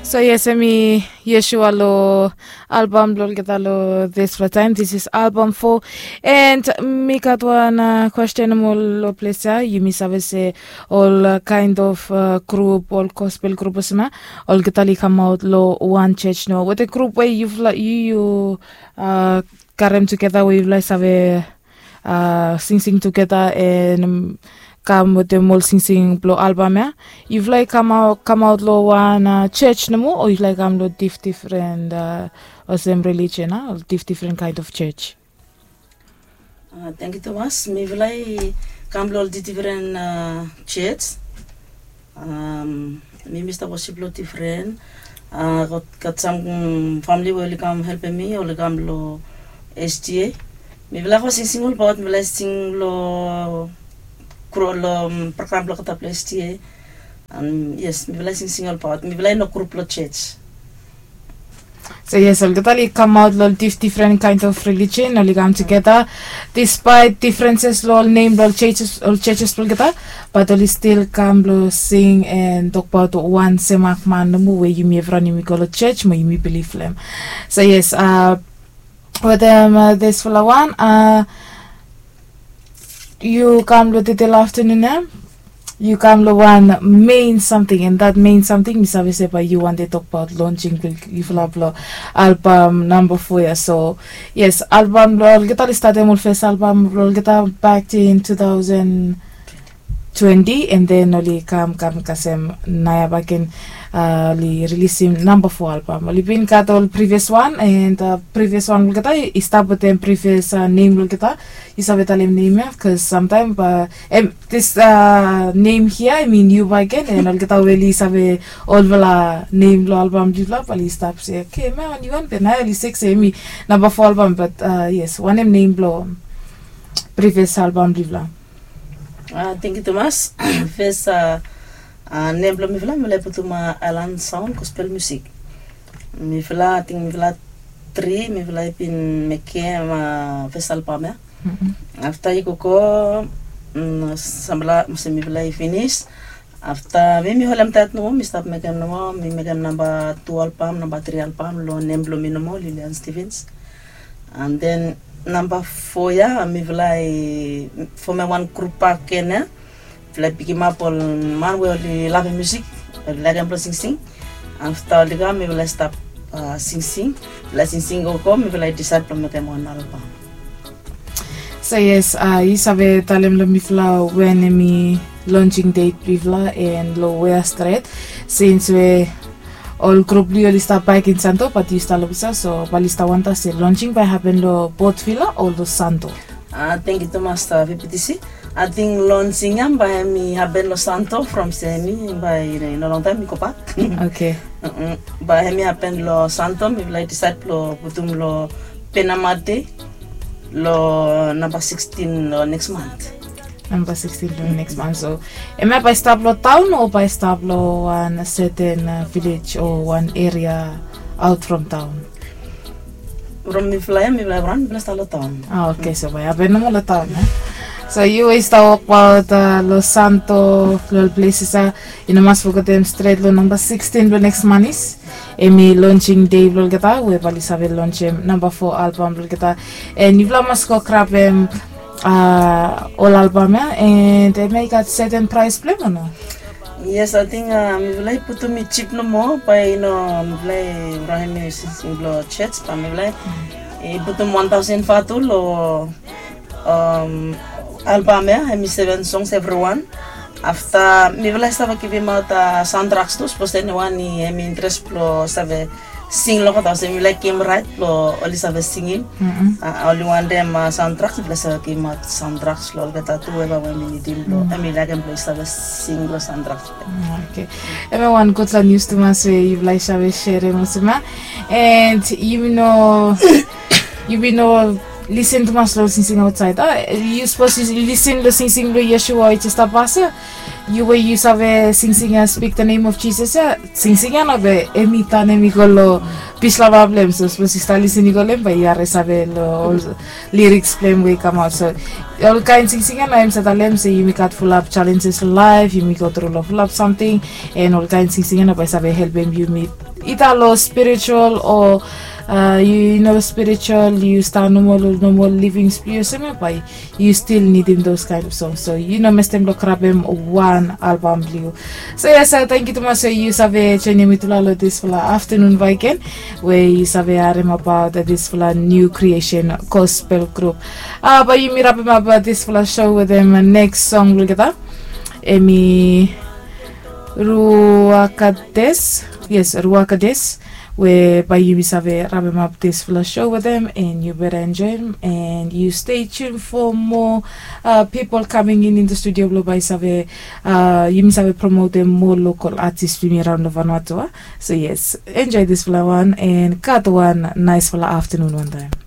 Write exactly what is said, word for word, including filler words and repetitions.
So yes, hemi Yeshua lo albam blo olgeta lo dispela taim. This is album four. And mi gat wan uh, question mo lo ples ya. Yumi save se ol uh, kind of uh, group, ol gospel group olsem ya, olgeta li kamaut lo wan church no. Wete group we yufala yu yu uh, karem tugeta we yufala save uh, singsing tugeta and um, kam wetem ol singsing blo albam ya. Yufala i kamaut kamaut lo wan uh, church nomo o yufala i kam lo dif different uh, olsem religion a ol dif different kind of church. Thank you Thomas. Mifala i kam lo ol different uh, church. Um, mi mi stap worship lo different. Uh, got, got some um, family we oli kam helpem mi, oli kam lo S T A. Mifala ko singsing olbaot, mifala sing lo kro lo um, program lo kata plo S T A. Um, yes, mifala singsing olbaot, mifala no group lo church. So yes, olgeta oli kamaut lo dif different kind of religion, oli kam tugeta despite differences lo ol name lo ol churches, ol churches blo olgeta, but oli still kam lo sing and tokbaot wan semak man nomo we yumi evriwan yumi go lo church mo yumi bilif lo em. So yes, uh, wetem uh, dispela wan uh, yu kam lo detail afternoon em. Yu kam lo wan main something and that main something mi save se bai yu wante tokbaot launching blo yufala blo album number four ya. So yes, album blo olgeta oli statem ol first album blo olgeta back in two thousand twenty and then oli kam kam kasem naya baken uh, oli rilisim number four album. Oli bin gat ol previous one and uh, previous one olgeta i stap wetem previous uh, name olgeta. Yu save talem name ya bikos samtaim uh, em, this uh, name here I mean yu baken and olgeta we oli save olfala name lo album blifla bali stap se okay man yu wan be naya oli sek se emi number four album but uh, yes wanem name blo previous album blifla. Uh, thank you Thomas. First uh, uh, name blo mifala mifala i putum uh, Island Sound Gospel Music. Mifala I think mifala tri mifala i bin mekem uh, first album ya. Afta i gogo mm, sampela olsem mifala i finis. Afta mi mi holem tait nomo mi stap mekem nomo mi mekem namba tu album namba tri album lo nem blo mi nomo Lilian Stevens. And then namba fo ya mifala i fomem wan grup bakegen ya. Mifala i pikimap ol man we oli lavem musik oli laekem blo singsing. Afta oli kam mifala i stap singsing. Mifala i singsing gogo mifala i disaed blo mekem wan albam. So yes, uh, yu save talem long mifala wen em i launching date blifala and lo wea stret since we ol grup blong yu oli stap baik in Santo but yu stap long Busa, so bali stap wanta se launching bai happen lo Port Vila o lo Santo. Uh, thank you tumas uh, V P T C. I think launching ya bai em i happen lo Santo from se em i bai no long taim i go bak. Okay. Bai em i happen lo Santo, mifala i decide lo putum lo Penama Day lo namba sixteen lo next month. Namba sixteen lo next month. So em ya bai stap lo town o bai stap lo wan certain uh, village o wan area out from town? From mifala ya mifala ya wan mifala stap lo town. Ah, okay, so bai happen nomo lo town. Eh? So yu i stap wokbaut uh, lo Santo lo ol places ya. I no mas fogetem stret lo namba sixteen lo next month is em i launching day blo olgeta we bali save launchem namba four album blo olgeta. And yufala mas go grabem uh, ol album ya and em ya i gat certain price blo em o no? Yes, I think uh, mifala i putum i chip nomo bai no mifala i rahem i sising blo church bai mifala i putum one thousand vatu lo um, album ya em i seven songs everyone. Afta mifala i save givimaot uh, sound tracks tu sapos eniwan i em i interes blo save sing long kota olsem yu laik gim rait blo oli save singim. Oli wantem soundtrack mipela save gimaot soundtrack long olgeta tu eva we mi nidim blo em i laikim blo i save sing long soundtrack. Okay. Em ya wan gutpela nius tumas we yupela i save serim olsem ya. And yumi no yumi no Lisen tumas long singsing aotsaed a, yu sapos yu lisen long singsing blong Yeshua i jes stap pas ya. Yu we yu save singsing ya, speak the name of Jesus ya, singsing ya no be em i tan em i go long pis long bab blem. So sapos yu stap lisen i go long em, bae yu harim save long ol lyrics blem we i kamaot. So olkaen singsing ya na em save talem se yumi gat fulap challenges long laef, yumi go tru long fulap samting, and olkaen singsing ya na bae save helpem yumi ita long spiritual o uh, yu no spiritual, yu stap normal, normal living spiritual, bae yu stil nidim those kind of songs. So yu no mestem long grabem wan album blong yu. So yes, uh, thank you tumas. So yu save joinim mi tula long disfala afternoon bae gen, we yu save harim about disfala new creation gospel group. Uh, bae yumi rapem ap disfala show wetem next song blong geta. Em i Ruakades. Yes, Ruakades. We bae yumi save rapem ap disfala show wetem, and yu beta enjoem, and yu stay tuned for more uh, people coming in in the studio blong bae save uh, yumi save promotem more local artist blong yumi raon long Vanuatu. So yes, enjoy disfala wan and gat wan naesfala afternoon wantaem.